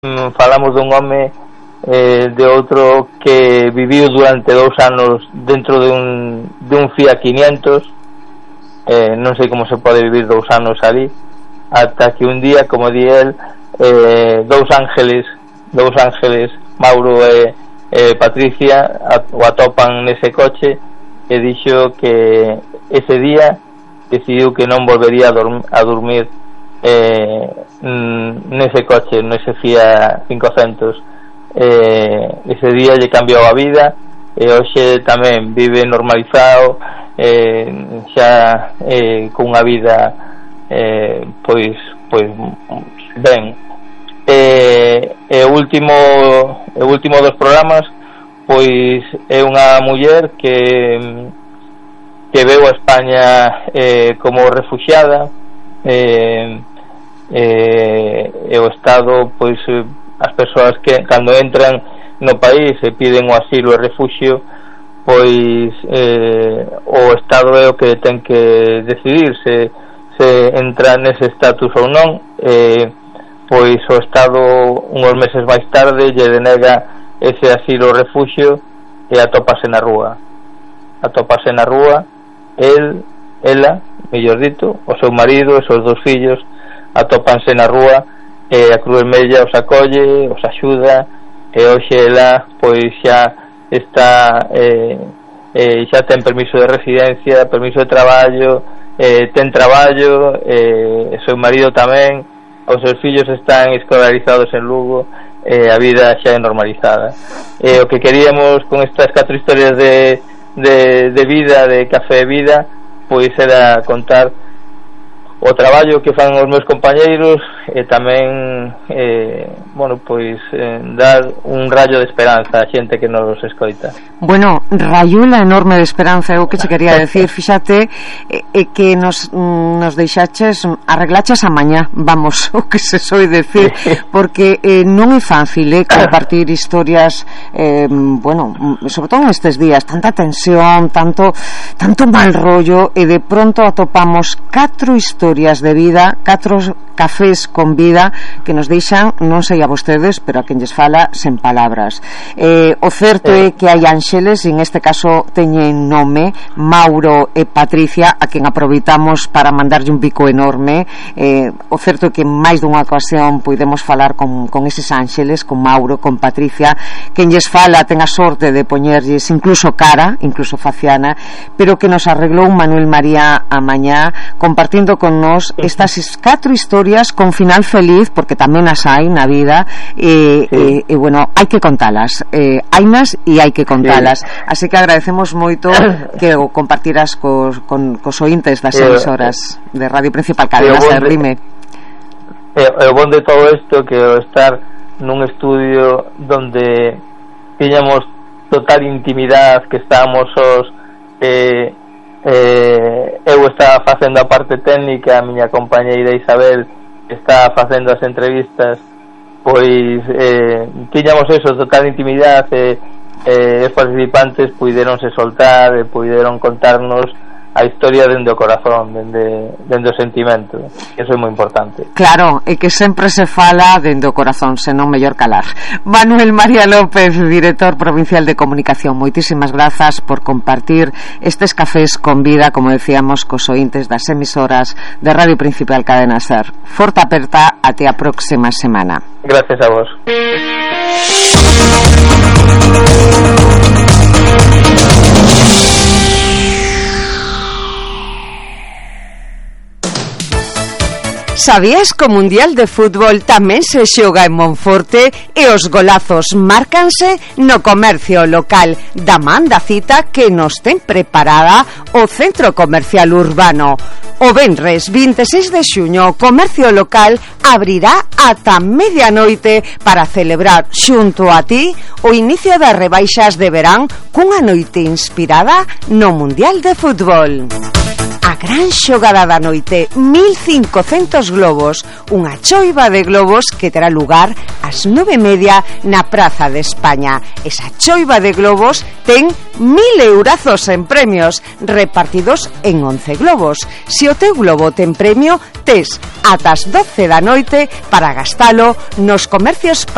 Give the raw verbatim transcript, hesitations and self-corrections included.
mm, falamos dun home eh, de outro que viviu durante dous anos dentro de un, de un Fiat quinientos, eh, non sei como se pode vivir dous anos ali, ata que un día, como di el, eh, dous ángeles dous ángeles, Mauro e eh, Patricia, o atopan nese coche, e dixo que ese día decidiu que non volvería a, dorm- a dormir eh, nese coche, nese Fiat quinhentos. Eh, ese día lle cambiou a vida, e hoxe tamén vive normalizado, eh, xa eh, cunha vida eh, pois pois ben. E eh, o último o último dos programas pois é unha muller que que veu a España eh, como refuxiada, eh, eh, e o Estado, pois as persoas que cando entran no país e piden o asilo e refuxio, pois eh, o Estado é o que ten que decidir se, se entra nese estatus ou non. eh, pois o Estado unhos meses máis tarde lle denega ese asilo ou refuxio e atópase na rúa atópase na rúa el, ela, mellor dito, o seu marido e os seus dous fillos atópanse na rúa, e a Cruz Vermella os acolle, os axuda, e hoxe ela pois xa está eh, eh, xa ten permiso de residencia, permiso de traballo, eh, ten traballo, eh, o seu marido tamén, os seus fillos están escolarizados en Lugo, eh, a vida xa é normalizada. Eh, o que queríamos con estas catro historias de, de, de vida, de Café de Vida, pois era contar o traballo que fan os meus compañeiros, e tamén eh, bueno, pois eh, dar un rayo de esperanza a xente que nos escoita. Bueno, rayula enorme de esperanza, é o que che quería decir. Fíxate eh, eh, que nos, nos deixaches, arreglaches a mañá, vamos, o que se soe decir, porque eh, non é fácil eh, compartir historias, eh, bueno, sobre todo nestes días, tanta tensión, tanto tanto mal rollo, e de pronto atopamos catro historias de vida, catro cafés con vida que nos deixan, non sei a vostedes, pero a quen lles fala sen palabras. Eh, o certo é que hai ánxeles, e en este caso teñen nome, Mauro e Patricia, a quen aproveitamos para mandarlle un bico enorme. Eh, o certo é que máis dunha ocasión podemos falar con, con eses ánxeles, con Mauro, con Patricia. Quen lles fala ten a sorte de poñerlles incluso cara, incluso faciana, pero que nos arreglou Manuel María a mañá compartindo con nos estas catro historias con final feliz, porque tamén as hai na vida, e, sí. e, e bueno, hai que contalas, eh, hainas e hai que contalas, sí. Así que agradecemos moito que o compartiras cos, con, cos ointes das emisoras de Radio Principal Cadena Ser. Dime. E o bon de todo isto que o estar nun estudio donde tiñamos total intimidade, que estábamos os eh, eh, eu estaba facendo a parte técnica, a miña compañeira Isabel está facendo as entrevistas, pois eh, tiñamos eso, total intimidade, e eh, os participantes puideronse soltar e puideron contarnos a historia dende o corazón, dende, dende o sentimento. Eso é moi importante. Claro, e que sempre se fala dende o corazón, senón mellor calar. Manuel María López, director provincial de comunicación, moitísimas grazas por compartir estes cafés con vida, como decíamos, cos ointes das emisoras de Radio Principal Cadena Ser. Forte aperta, até a próxima semana. Gracias a vos. Sabías que o Mundial de Fútbol tamén se xoga en Monforte e os golazos márcanse no comercio local da man da cita que nos ten preparada o Centro Comercial Urbano. O venres vinte e seis de xuño o comercio local abrirá ata medianoite para celebrar xunto a ti o inicio das rebaixas de verán cunha noite inspirada no Mundial de Fútbol. A gran xogada da noite, mil cincocentos globos, unha choiva de globos que terá lugar ás nove e media na Praza de España. Esa choiva de globos ten mil eurazos en premios, repartidos en once globos. Se o teu globo ten premio, tes ata as doce da noite para gastalo nos comercios